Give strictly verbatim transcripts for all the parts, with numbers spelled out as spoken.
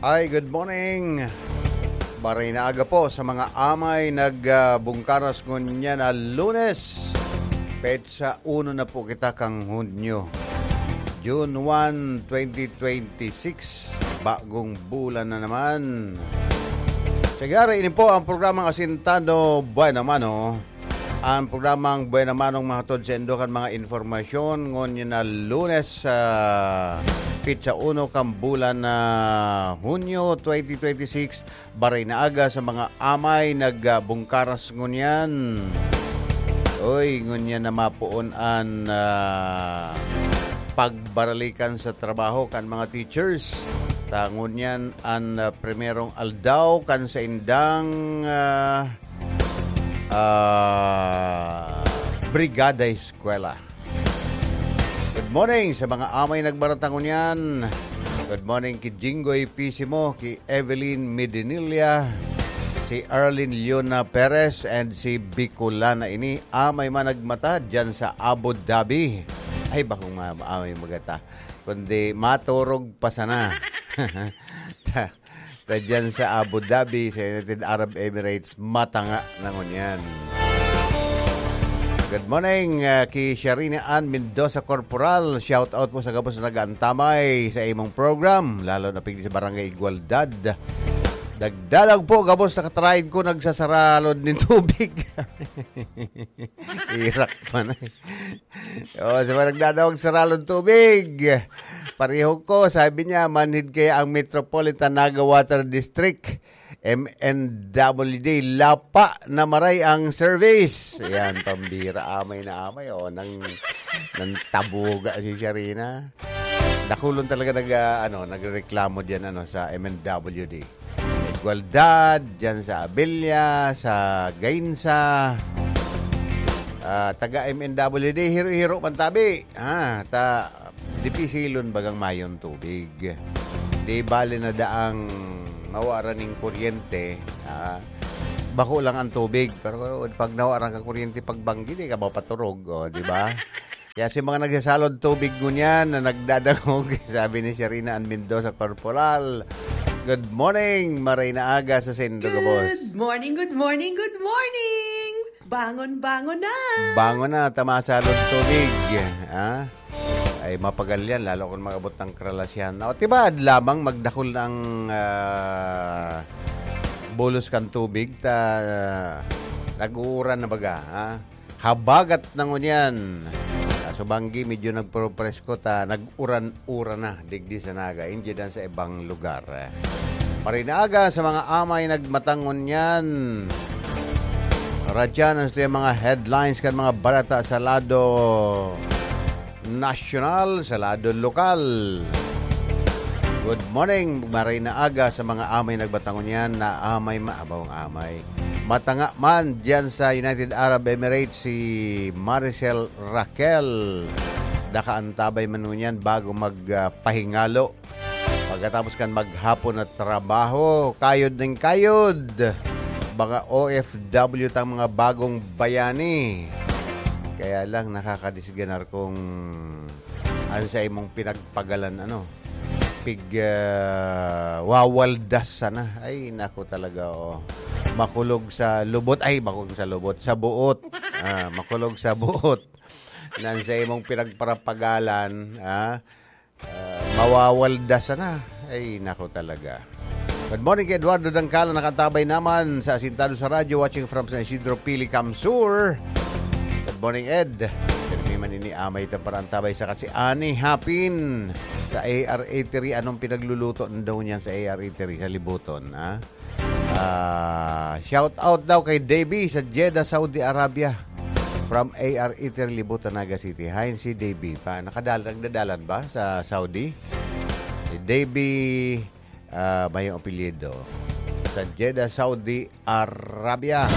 Ay, good morning. Baray na aga po sa mga amay nagbungkaras ngunyan na Lunes. Petsa uno na po kita kang Hunyo. June one, twenty twenty-six. Bagong bulan na naman. Sigara, ini po ang programang Asintado Buena Mano. Ang programang Buena Manong mahatod sa indo kan mga informasyon ngunyan na Lunes sa petsa uno kan bulan na Hunyo twenty twenty-six, baray na aga sa mga amay nagbungkaras ngunyan. Oy, ngunyan na mapoon an, ah, pagbaralikan sa trabaho kan mga teachers. Ta ngunyan an, ah, primerong aldaw kan saindang, ah, ah, Brigada Eskwela. Good morning sa mga amay nagbaratang ngunyan. Good morning ki Jinggoy Pisimo, ki Evelyn Medinilla, si Arlene Leona Perez, and si Bicolana ini. Amay man nagmata dyan sa Abu Dhabi. Ay, bakong ma-, amay magata. Kundi maturog pa sana. Ta-, ta dyan sa Abu Dhabi, sa United Arab Emirates, matanga na ngunyan. Good morning, ah, ki Sharina Ann Mendoza Corporal. Shout out po sa gabos na nag-aantamay sa imong program, lalo na pigdi sa Barangay Igualdad. Nagdalag po, gabos sa katraid ko, nagsasaralod nin tubig. Irak pa na eh. Oh, sa mga nagdadawag sa ralon tubig. Pareho ko, sabi niya, manhid kaya ang Metropolitan Naga Water District, M N W D, lapa na maray ang service. Yan, pambira, amay na amay, oh, nang, nang tabuga si Sharina. Dakulon talaga nag, ah, ano, nagreklamo diyan, ano, sa M N W D. Igualdad, diyan sa Abella, sa Gainza. Ah, taga M N W D, hiro-hiro man tabi. Ah, ta, dipisilon bagang mayon tubig. Di bale na daang mawara ning kuryente, ah, bako lang ang tubig. Pero pag nawara ang kuryente, pagbanggi, di ka mapaturog, oh, di ba? Kaya si mga nagsasalod tubig ngunyan na nagdadangog, sabi ni Sharina Ann Mendoza Corporal, "Good morning, maray na aga sa saindo gabos." Good morning, good morning, good morning! Bangon, bangon na! Bangon na, ta masalod tubig, ha? Ay, mapagal yan, lalo kung mag-abot ng Kralasyana. O, diba, lamang magdakul ng, ah, bulos kan tubig, ta, nag-uuran na baga, ha? Habagat na ngunyan. Sa Subanggi, medyo nagpupresko ta, nag-uran-uran na digdi sa Naga. Hindi dan sa ibang lugar. Maray na aga sa mga amay nagmatang ngunyan. Radyan ang mga headlines kan mga balita sa lado nasyonal, sa lado lokal. Good morning, maray na aga sa mga amay nagmatang ngunyan na amay ma-, abawang amay. Matanga man diyan sa United Arab Emirates si Maricel Raquel. Daka antabay man ngunyan bago mag, ah, pahingalo. Pagkatapos kan maghapon na trabaho, kayod ning kayod. Mga O F W tang mga bagong bayani. Kaya lang nakakadisganar kung ano sa imong pinagpagalan, ano, pig, ah, wawaldas sana. Ay, nako talaga, oh. Makulog sa lubot. Ay, makulog sa lubot. Sa buot. Ah, makulog sa buot. Nan sa imong pinagparapagalan, ah, ah, mawawaldas sana. Ay, nako talaga. Good morning kay Eduardo Dangkala, nakatabay naman sa Asintado sa Radyo, watching from San Isidro, Pili, CamSur. Good morning, Ed. Pirmi man ini amay itong parantabay sa kasi Ani Hapin sa A R Eatery. Anong pinagluluto daw niyan sa A R Eatery sa Libuton, ha? Ah, shout out daw kay Davey sa Jeddah, Saudi Arabia. From A R Eatery, Libuton, Naga City. Hi, si Davey pa. Nakadal-, nagdadalan ba sa Saudi? Si Davey, ah, may apelyido. Sa Jeddah, Saudi Arabia.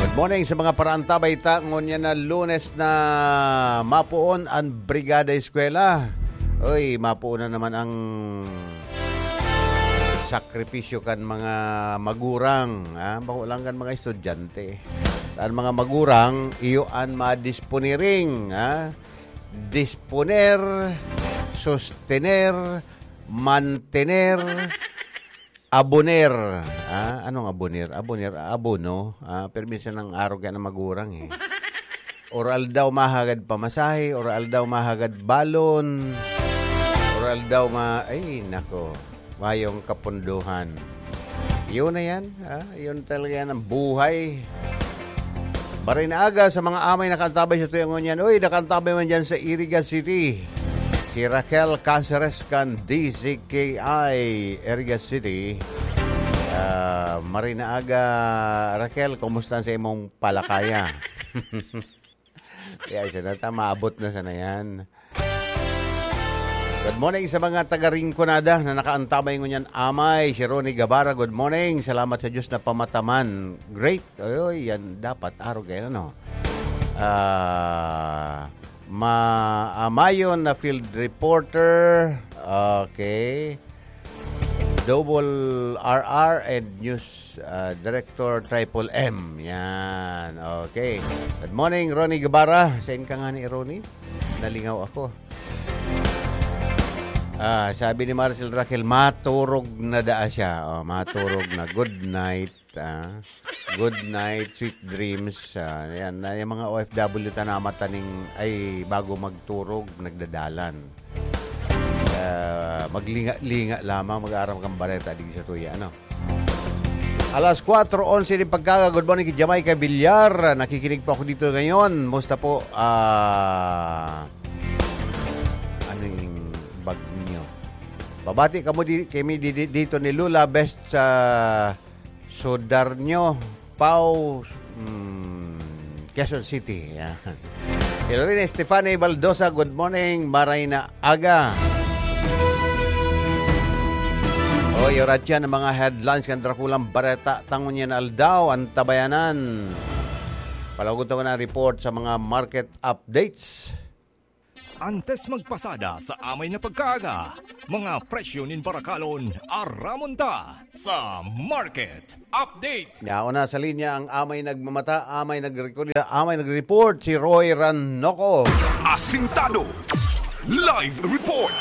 Good morning sa mga paraantabay ta. Ngunyan na Lunes na mapuon ang Brigada Eskwela. Oy, mapuon na naman ang sakripisyo kan mga magurang, ha? Bako lang kan mga estudyante. Kan mga magurang, iyo an madisponiring, ha? Disponer sustener, mantener, aboner. Ah, anong aboner? Aboner, abono. Ah, pero minsan ang arog yan ng magurang eh. Or aldaw mahagad pamasahe, or aldaw mahagad balon, or aldaw ma-, ay, nako, mayong kapunduhan. Yun na yan, ah, yun talaga yan ang buhay. Maray na aga sa mga amay nakaantabay sa tuyang ngunyan. Uy, nakaantabay man dyan sa Iriga City. Si Raquel Caceres kan D Z K I Iriga City. Ah, maray na aga, Raquel, kumusta sa imong palakaya? Kaya siya na, ta-, maabot na sana yan. Good morning sa mga taga Rinconada na nakaantabay ngunyan amay. Si Ronnie Gabara, good morning. Salamat sa Diyos na pamataman. Great. Oy, yan dapat arog yan, ano? Ah, ma-, ah, Mayon na field reporter. Okay. Double R R and news, ah, director Triple M. Yan. Okay. Good morning, Ronnie Guevara. Saan ka nga ni Ronnie? Nalingaw ako. Ah, sabi ni Marcel Raquel, maturog na daa siya. Oh, maturog na. Good night. Ah. Good night, sweet dreams. Ah, yan, na yung mga O F W ta na mataning, ay, bago magturog, nagdadalan. Ah, maglinga-linga lamang, mag-aaram kang bareta, di sa tuya, ano? Alas kwatro onse din pagkaga. Good morning kay Jamaica Villar. Nakikinig po ako dito ngayon. Musta po? Ah, ano yung bag niyo? Babati kamo di, kami di, di, dito ni Lula, best sa Sudarnio, Pau, mm, Quezon City. Yan. Ilorina Stefani Baldosa, good morning, maray na aga. O, yun, yan ang mga headlines kan Drakulang Bareta, tangon yan aldaw, ang tabayanan. Palagot ko na report sa mga market updates. Antes magpasada sa amay na pagkaaga, mga presyo nin barakalon, aramon ta sa Market Update. Yaon na sa linya ang amay nagmamata, amay nagrekorda, amay nagreport, si Roy Ranoco. Asintado. Live report.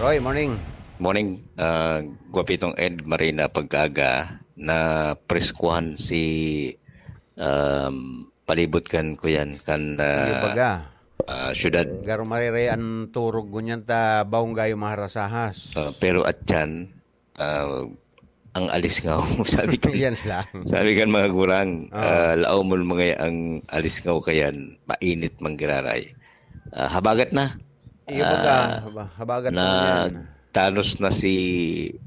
Roy, morning. Morning, ah, Guapitong Ed, Marina, pagkaaga na preskuhan si, um, palibot kan kuyan, kan, ah, Iyo baga. Ah, syudad. Garo marere an turog ngunyan ta baong gayo maharasahas. Ah, pero atyan, ah, ang alisngaw, sabi kan, Yan lang. sabi kan mga gurang, Ah. ah, laom mo mga ang alisngaw kayan, mainit manggiraray. Ah, habagat na. Iyo baga, Ah, haba-, habagat na na yan. tanos na si,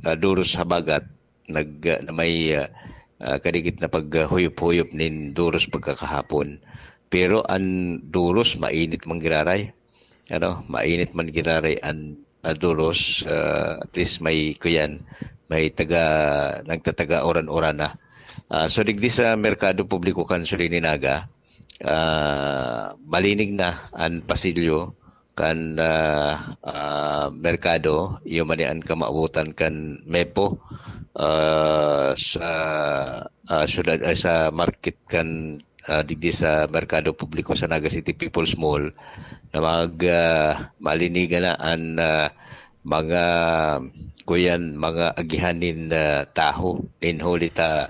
ah, Duros Habagat. nag-, na may, ah, ah, kadikit na paghuyop-huyop nin duros pagkakahapon. Pero an duros mainit man giraray. Ano, mainit man giraray an, ah, duros, ah, at least may kuyan, may taga, nagtataga uran-uran na. Ah, so digdi sa merkado publiko kan Surinaga, ah, malinig na an pasilyo kan, ah, ah, merkado, iyo man an kamawotan kan Mepo, ah, sa, ah, syudad, ay, sa market kan, ah, digdi sa merkado publiko sa Naga City People's Mall, na mag, ah, malinigan na an, ah, mga, kuyan, mga agihan nin, ah, taho, nin huli ta,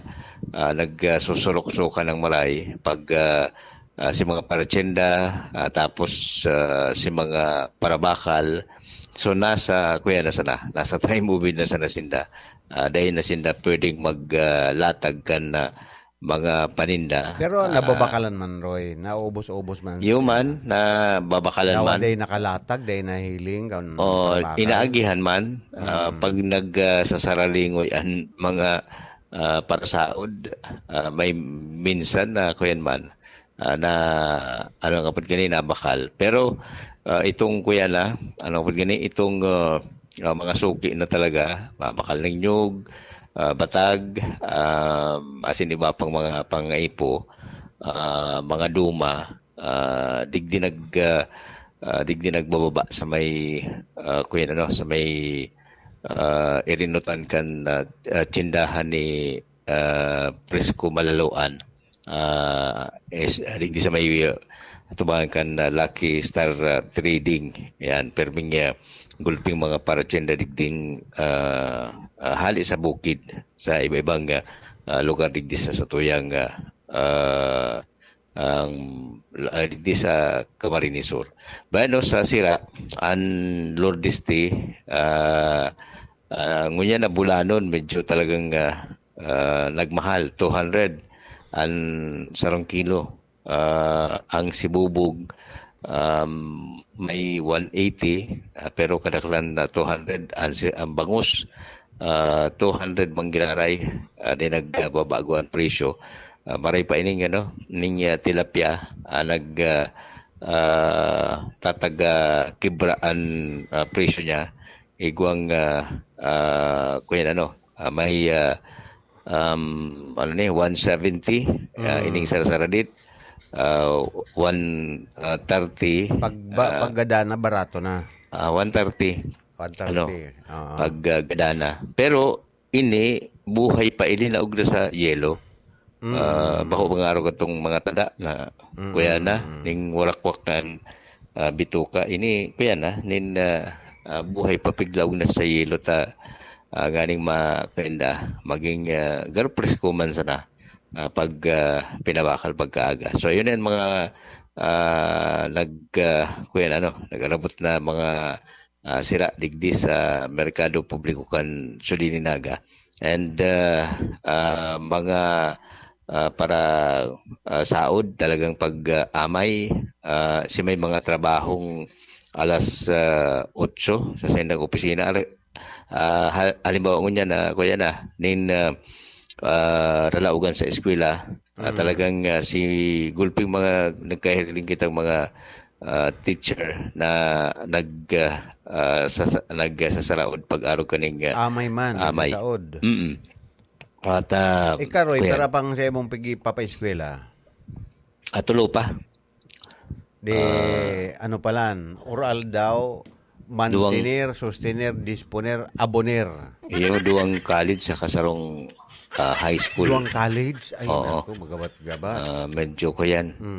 ah, nag, ah, susurok-sukan ng maray pag, ah, ah, si mga paratyenda, ah, tapos, ah, si mga parabakal. So, nasa, kuya, nasa na, nasa time movie na sana sinda. Ah, dahil na sinda pwedeng mag, ah, latag kan, ah, mga paninda. Pero Ah, nababakalan man, Roy. Naubos-ubos man. Iyo man, nababakalan Yawa man. Day nakalatag, day nahiling, kan O, parabakal. Inaagihan man, ah, Mm. pag nag, ah, sasaralingoy an mga, ah, parasaod, ah, may minsan na kuyan man, ah, na, ano nga pud gani, nabakal. Pero, ah, itong kuya na, ano nga pud gani, itong, ah, ah, mga suki na talaga, mabakal ng nyug, ah, batag, ah, asin iba pang mga pangaipo, ah, mga duma, ah, digdi nag, ah, ah, digdi nagbababa sa may, ah, kuya na, no, sa may, ah, irinutan kan, ah, ah, tsindahan ni, ah, Prisco Malaloan. Ah, is, ah, digdi sa may, ah, atubangan kan, ah, Lucky Star, ah, Trading. Yan, perming, ah, gulping mga paratyenda digding, ah, ah, hali sa bukid, sa iba-ibang, ah, ah, lugar digdi sa satuyang, ah, ah, ang, ah, digdi sa Camarines Sur. Bueno, sa sira, an Lourdes Tea, ah, ah, ngunyan na bulanon, medyo talagang, ah, ah, nagmahal, two hundred an sarong kilo. Ah, ang sibubog, um, may one eighty, ah, pero kadaklan na two hundred. Ang si-, ang bangus, ah, two hundred man giraray, ah, di nagbabago ang presyo. Ah, maray pa ining, ano, ning, ah, tilapia, ah, nag, ah, ah, tataga kibra an, ah, presyo niya. Igwang, ah, ah, kuyan, ano, ah, may, ah, um, ano ni, one seventy, ah, Mm. ining sarsaradit, ah, one, ah, thirty, Pag ba, ah, pag gada na, barato na. ah, one thirty. One thirty. Ano? Oo. Pag, ah, gada na. Pero ini, buhay pa, ili na ugra sa yelo. Mm. Ah, bako mga araw katong mga tada na Mm, kuya na, mm, mm. ning warakwak kan, ah, bituka. Ini, kuya na, nin, ah, ah, buhay pa, piglaog na sa yelo ta, ah, nganing ma-, kainda, maging, ah, garo presko man sana, ah, pag, ah, pinabakal pagkaaga. So, yun yan mga, ah, nag, ah, kuya na, ano, nag-arabot na mga, ah, sira digdi sa merkado publiko kan Sudini Naga. And, ah, ah, mga, ah, para, ah, saod talagang pag, ah, amay, ah, si may mga trabahong alas, ah, otso sa saindang opisina. Ari-, ah, ha-, halimbawa ngunyan na, kuya na, nin, ah, ah, ralaogan sa eskwela, ah, Mm. talagang, ah, si gulping mga nagkahiling kitang mga, ah, teacher na nag, ah, ah, sasa-, nagsasaraod pag-arog kaning, ah, Amay man, amay. nagsasaod. Mm. At, ah, Ikaw, Roy, kuya. Para pang sa imong pigi-, papaeskwela? Ah, tulo pa. Di, Ah. ano palan, oral daw, Duwang mantener, sostener, disponer, aboner. Iyo, duwang college sa kasarong, ah, high school. Duwang college? Ay, Oo. naku, magabat-gabat. Ah, medyo ko yan. Mm.